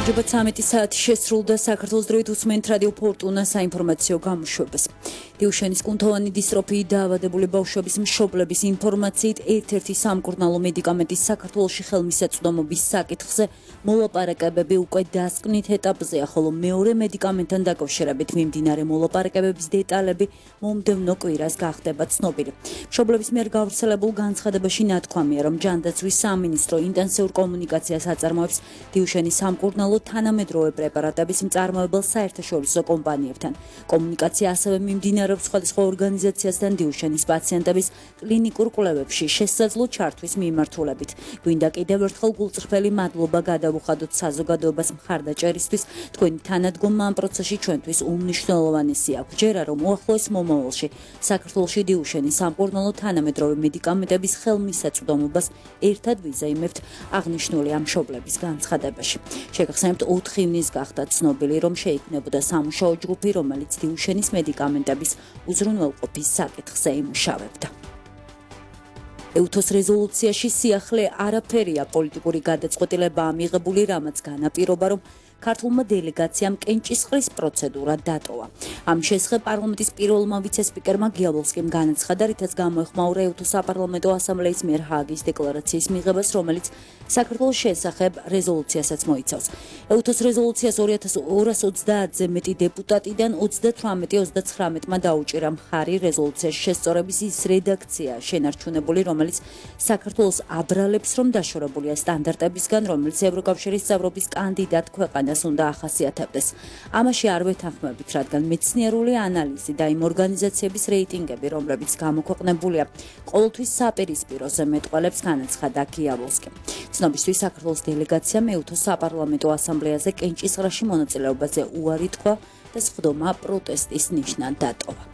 გამარჯობა 13 საათი შესრულდა საქართველოს დროით უსმენთ რადიო ფორტუნა საინფორმაციო გამოშვებას. დიუშენის კუნთოვანი დისტროფიით დაავადებული ბავშვების მშობლების ინფორმაციით ერთ-ერთი სამკურნალო მედიკამენტის საქართველოში ხელმისაწვდომობის საკითხზე მოლაპარაკებები უკვე დასკვნით ეტაპზეა, ხოლო მეორე მედიკამენტთან დაკავშირებით მიმდინარე მოლაპარაკებების დეტალები მომდევნო კვირას გახდება ცნობილი. მშობლების მიერ გავრცელებულ განცხადებაში ნათქვამია, რომ ჯანდაცვის სამინისტრო ინტენსიურ კომუნიკაციას აწარმოებს დიუშენის სამკურნალო თანამედროვე პრეპარატების მწარმოებელ საერთაშორისო კომპანიებთან. კომუნიკაცია ასევე მიმდინარეობს სხვადასხვა ორგანიზაციასთან დიუშენის პაციენტების კლინიკურ კვლევებში შესაძლო ჩართვის მიმართულებით. გვინდა კიდევ ერთხელ გულწრფელი მადლობა გადავუხადოთ საზოგადოებას მხარდაჭერისთვის. თქვენი თანადგომა ამ პროცესში ჩვენთვის უმნიშვნელოვანესი აქვს. ჯერა რომ უახლოეს მომავალში საქართველოში დიუშენის სამკურნალო თანამედროვე მედიკამენტების ხელმისაწვდომობას ერთად ვიზაიმებთ, აღნიშნული ამ მშობლების განცხადებაში. შეგახსენებთ 4 ივნის გახდა ცნობილი, რომ შეიქმნებოდა სამუშაო ჯგუფი, რომელიც დიუშენის მედიკამენტების უზრუნველყოფის საკითხზე იმუშავებდა. ეუთოს რეზოლუციაში სიახლე არაფერია, პოლიტიკური გადაწყვეტილებაა მიღებული, რამაც განაპირობა, რომ ქართულმა დელეგაციამ კენჭისყრის პროცედურა დატოვა. ამ შესახებ პარლამენტის პირველმა ვიცე-სპიკერმა გიაბოვსკიმ განაცხადა, რითაც გამოეხმაურა ეუთოს საპარლამენტო ასამბლეის მიერ ჰააგის დეკლარაციის მიღებას, რომელიც საქართველოს შესახებ რეზოლუციასაც მოიცავს. ეუთოს რეზოლუციას 2230-ზე მეტი დეპუტატიდან 38-39-მა დაუჭირა მხარი. რეზოლუციაში შესწორების ის რედაქცია შენარჩუნებული, რომელიც საქართველოს აბრალებს, რომ დაშორებულია სტანდარტებისგან, რომელიც ევროკავშირის წევრობის კანდიდატ ქვეყანას უნდა ახასიათებდეს. ამაში არ ვეთანხმებით, რადგან მეცნიერული ანალიზი და იმ ორგანიზაციების რეიტინგები, რომლებიც გამოქვეყნებულია, ყოველთვის საპირისპიროზე მეტყველებს, განაცხადა გიაბოვსკიმ. ცნობისთვის საქართველოს დელეგაციამ ეუთოს საპარლამენტო ასამბლეაზე კენჭისყრაში მონაწილეობაზე უარი თქვა და სხდომა პროტესტის ნიშნად დატოვა.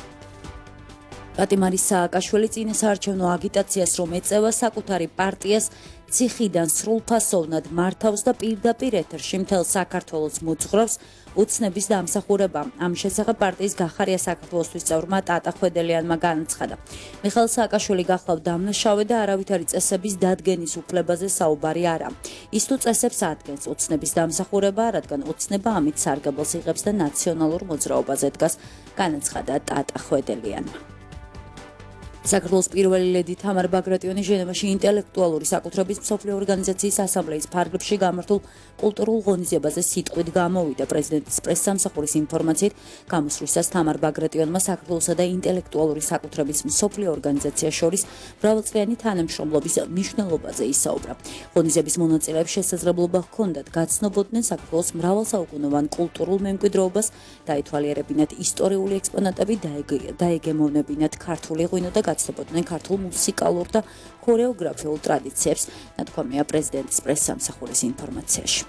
პატიმარი სააკაშვილი წინა საარჩევნო აგიტაციას რომ ეწევა საკუთარი პარტიას ციხიდან სრულფასოვნად მართავს და პირდაპირ ეთერში მთელ საქართველოს მოძღვრავს უცნების დამსახურება. ამ შესახებ პარტიის გახარია საქართველოსთვის წევრმა ტატა ხვედელიანმა განაცხადა. მიხეილ სააკაშვილი გახლავთ დამნაშავე და არავითარი წესების დადგენის უფლებაზე საუბარი არა. ის თუ წესებს ადგენს უცნების დამსახურება, რადგან უცნება ამით სარგებელს იღებს და ნაციონალურ მოძრაობაზე დგას, განაცხადა ტატა ხვედელიანმა. საქართველოს პირველი ლედი თამარ ბაგრატიონი ჟენევაში ინტელექტუალური საკუთრების მსოფლიო ორგანიზაციის ასამბლეის ფარგლებში გამართულ კულტურულ ღონისძიებაზე სიტყვით გამოვიდა. პრეზიდენტის პრესსამსახურის ინფორმაციით, გამოსვლისას თამარ ბაგრატიონმა საქართველოსა და ინტელექტუალური საკუთრების მსოფლიო ორგანიზაციას შორის მრავალწლიანი თანამშრომლობის მნიშვნელობაზე ისაუბრა. ღონისძიების მონაწილეებს შესაძლებლობა ჰქონდათ გაცნობოდნენ საქართველოს მრავალსაუკუნოვან კულტურულ მემკვიდრეობას, დაეთვალიერებინათ ისტორიული ექსპონატები, დაეგემოვნებინათ ქართული ღვინო და გაცნობოდნენ ქართულ მუსიკალურ და ქორეოგრაფიულ ტრადიციებს, ნათქვამია პრეზიდენტის პრესსამსახურის ინფორმაციაში.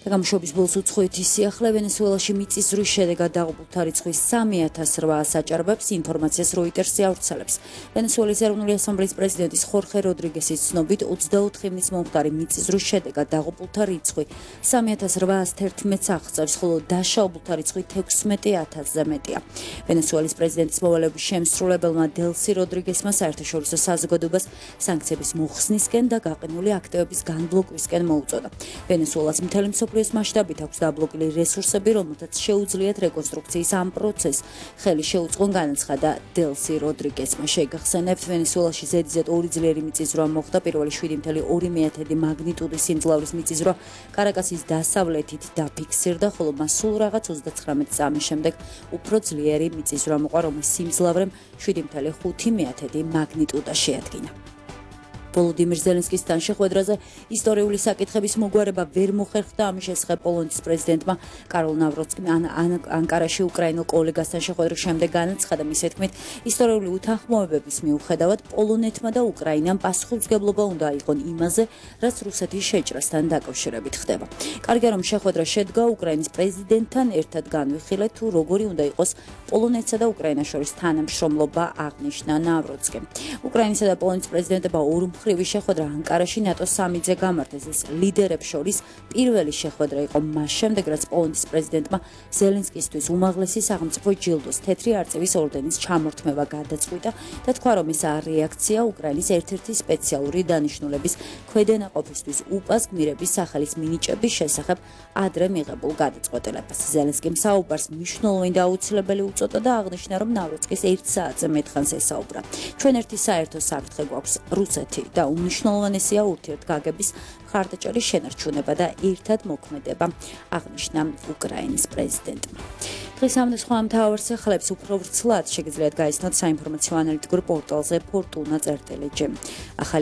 გამშვობის ბოლოს უცხოეთის სიახლე ვენესუელაში მიწისძვრის შედეგად დაღუპულთა რიცხვის 3800 აჭარბებს, ინფორმაციას როიტერსი ავრცელებს. ვენესუელის ეროვნული ასამბლეის პრეზიდენტის ხორხე როდრიგესის ცნობით 24 ივნის მომხდარი მიწისძვრის შედეგად დაღუპულთა რიცხვი 3811-ს აღწევს, ხოლო დაშაობულთა რიცხვი 16000-ზე მეტია. ვენესუელის პრეზიდენტის მოვალეობის შემსრულებელმა დელსი როდრიგესმა საერთაშორისო საზოგადოებას სანქციების მოხსნისკენ და გაყინული აქტივების განბლოკვისკენ მოუწოდა. ვენესუელას მთელი მსოფლიოს მასშტაბით აქვს დაბლოკილი რესურსები, რომელთაც შეუძლიათ რეკონსტრუქციის ამ პროცესს ხელი შეუწყონ, განაცხადა დელსი როდრიგესმა. შეგახსენებთ, ვენესუელაში ზედიზედ 2 ძლიერი მიწისძვრა მოხდა. პირველი 7.2 მაგნიტუდის სიმძლავრის მიწისძვრა კარაკასის დასავლეთით დაფიქსირდა, ხოლო მას სულ რაღაც 39 წამის შემდეგ უფრო ძლიერი მიწისძვრა მოყვა, რომლის სიმძლავრემ 7.5 მაგნიტუდა შეადგინა. ვოლოდიმირ ზელენსკისთან შეხვედრაზე ისტორიული საკითხების მოგვარება ვერ მოხერხდა. ამის შესახებ პოლონეთის პრეზიდენტმა კაროლ ნავროცკიმ ანკარაში უკრაინულ კოლეგასთან შეხვედრის შემდეგ განაცხადა, მის თქმით, ისტორიული უთანხმოებების მიუხედავად პოლონეთმა და უკრაინამ პასუხისმგებლობა უნდა აიღონ იმაზე, რაც რუსეთის შეჭრასთან დაკავშირებით ხდება. კარგია რომ შეხვედრა შედგა, უკრაინის პრეზიდენტთან ერთად განვიხილეთ, თუ როგორი უნდა იყოს პოლონეთსა და უკრაინას შორის თანამშრომლობა, აღნიშნა ნავროცკიმ. უკრაინისა და პოლონეთის პრეზიდენტებმა ორ მხრივი შეხვედრა ანკარაში ნატოს სამიტზე გამართეს. ეს ლიდერებს შორის პირველი შეხვედრა იყო მას შემდეგ, რაც პოლონეთის პრეზიდენტმა ზელენსკისთვის უმაღლესი სახელმწიფო ჯილდოს თეთრი არწივის ორდენის ჩამორთმევა გადაწყვიტა და თქვა, რომ ეს რეაქცია უკრაინის ერთ-ერთი სპეციალური დანიშნულების ქვედანაყოფისთვის უპას გმირების სახელის მინიჭების შესახებ ადრე მიღებულ გადაწყვეტილებას. ზელენსკიმ საუბარს მნიშვნელოვანი და აუცილებელი უწოდა და აღნიშნა, რომ ნავრუცკის 1 საათზე მეტხანს ესაუბრა. ჩვენ ერთი საერთო საფრთხე გვაქვს რუსეთი და უმნიშვნელოვანესია ურთიერთგაგების მხარდაჭერის შენარჩუნება და ერთად მოქმედება, აღნიშნა უკრაინის პრეზიდენტმა. დღის ამ და სხვა მთავარ სახელებს უფრო ვრცლად შეგიძლიათ გაიცნოთ საინფორმაციო ანალიტიკურ პორტალზე fortuna.gt.